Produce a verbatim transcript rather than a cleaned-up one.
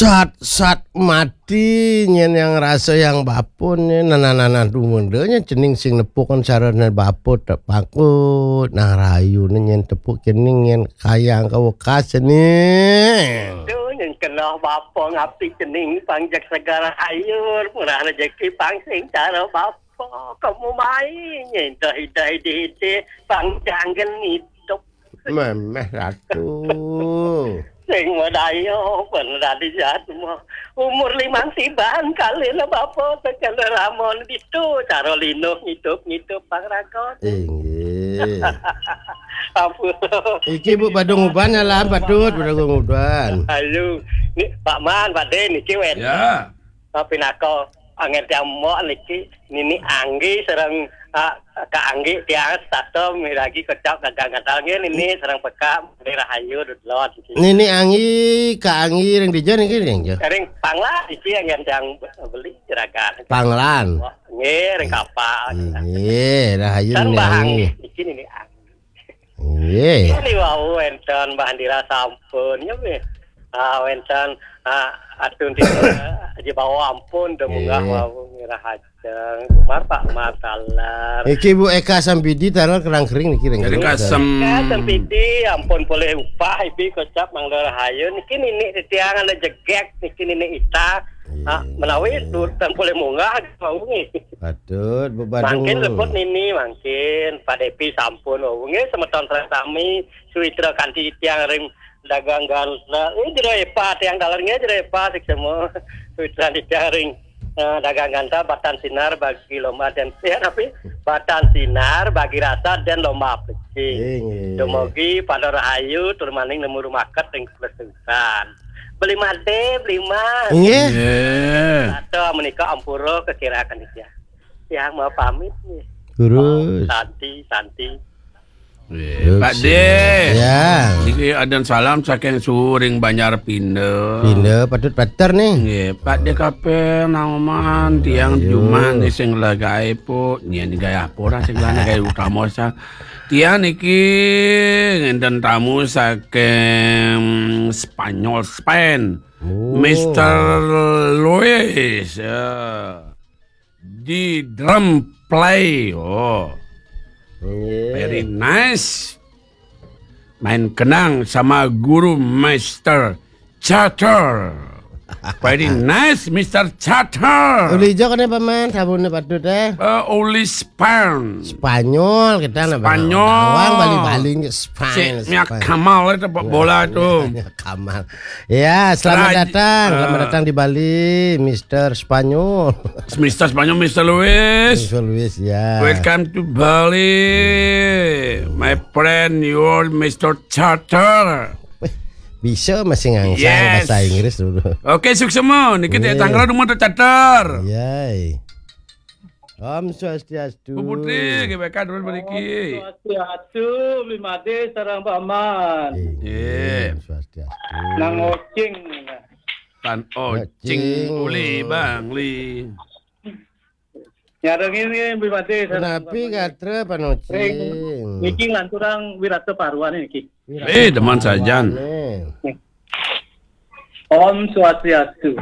Sat-sat mati nyén yang rasa yang bapa nyén, nanah-nanah dumundanya cening sing nepukan sarana bapa tak pangkut, nah rayuné nyén tepuk cening nyén kayang ka wekas cening. Duh, nyén kenah bapa ngabdi cening pangjak segara hayur, murah rejeki pang sing cara bapa, kamu mai nyén dah idai dihiti pang janggen hidup. Méméh ratu. Sing madaya, bener tadi jahat semua. Umur limang siban kali lah bapa, tekan ramon gitu, cara linuh ngidup-ngidup pang raga. Inggih. Ampun. Iki Bu Badung Uban lah, patut Badung Uban. Ayo, ni Pak Man, Pak Dé, niki wénten. Ya. Tapi nako, angin tiang mok niki, Nini Anggi sareng, ah, Kak Anggi tiang setata miragi kecap dagang gantal nggih, Nini sareng Peka, Beli Rahayu, Dudlot, niki. Nini Anggi, Kak Anggi, ring dija niki, ring dija? Ring Panglan, niki yang, yang, yang beli jeragan. Panglan. Wah, nggih, ring kapal. Nggih, Rahayu Nini Anggi. Niki Nini Anggi. Nggih. Ini wau wénten Mbah Andira sampun, ya, nggih. Ah, wénten, ah, Atun Tita, Haji Bawa ampun, udah munggah wau ngira hajeng. Umar Pak Umar taler. Iki Bu Eka Sampidi taler kerang kering niki ring. Jadi kasem. Eka Sampidi ampun polih upah, ibi kocap mangga rahayu. Niki nini titiang ada jegek, niki nini ita. Ah, menawi turut dan polih munggah, wau nggih. Patut, Bu Badung. Mangkin rebut nini, mangkin. Pak Depi sampun, wau nggih, semeton sareng sami, suwitra kanti tiang ring dagang ganta. Eh, jero epa tiang taler nggih, jero epa sik semua. Suwitra tiang ring, eh, dagang ganta, batan sinar bagi lomba dan, ya, tapi batan sinar bagi rasa dan lomba peci. Inggih. Dumugi pada rahayu, tur maning nemu rumaket ring keputusan. Beli made, beli mas. Inggih. Nggih. Atau menika ampura kekiraaken tiang. Tiang mau pamit nggih. Terus. Santi, santi. Nggih, terus, Pak Dé. Ya. Niki adan salam saking suring Banjar Pinda. Pinda patut pater nih. Nggih, Pak Dé Kapel Nauman tiang Ayo. Juman sing lagae, Puk. Nyén gawe apa ora sing lana gawe utama sa. Tiang niki ngenten tamu saking Spanyol, Spain. Oh. Mister Luis, ya. Di drum play. Oh. Nggih. Very nice. Main kenang sama guru Mister Charter. Very nice, Mister Charter. Uli ijo kene paman, sabunnya patut eh. Eh, uli Spern. Spanyol kita napa? Spanyol. Bawang Bali-Bali nggih, Spanyol. Si Mia Kamal itu bola itu. Mia Kamal. Ya, selamat datang, selamat datang di Bali, Mister Spanyol. Mister Spanyol, Mister Luis. Mister Luis, ya. Welcome to Bali, my friend, your Mister Charter. Bisa masih ngangsang bahasa Inggris dulu. Oke, suksma. Niki tanggal rumah tercatat. Yay. Om Swastiastu. Bu Putri, G B K terus mriki. Om Swastiastu, Bli Made sareng Paman. Nggih. Om Swastiastu. Nang Ocing. Tan Ocing. Ocing. Uli Bangli. Nyarengin nggih, Bli Made sareng Paman. Punapi gatra Pan Ocing? Niki nganturang wirata paruan niki. Eh, demen sajan. Om Swastiastu.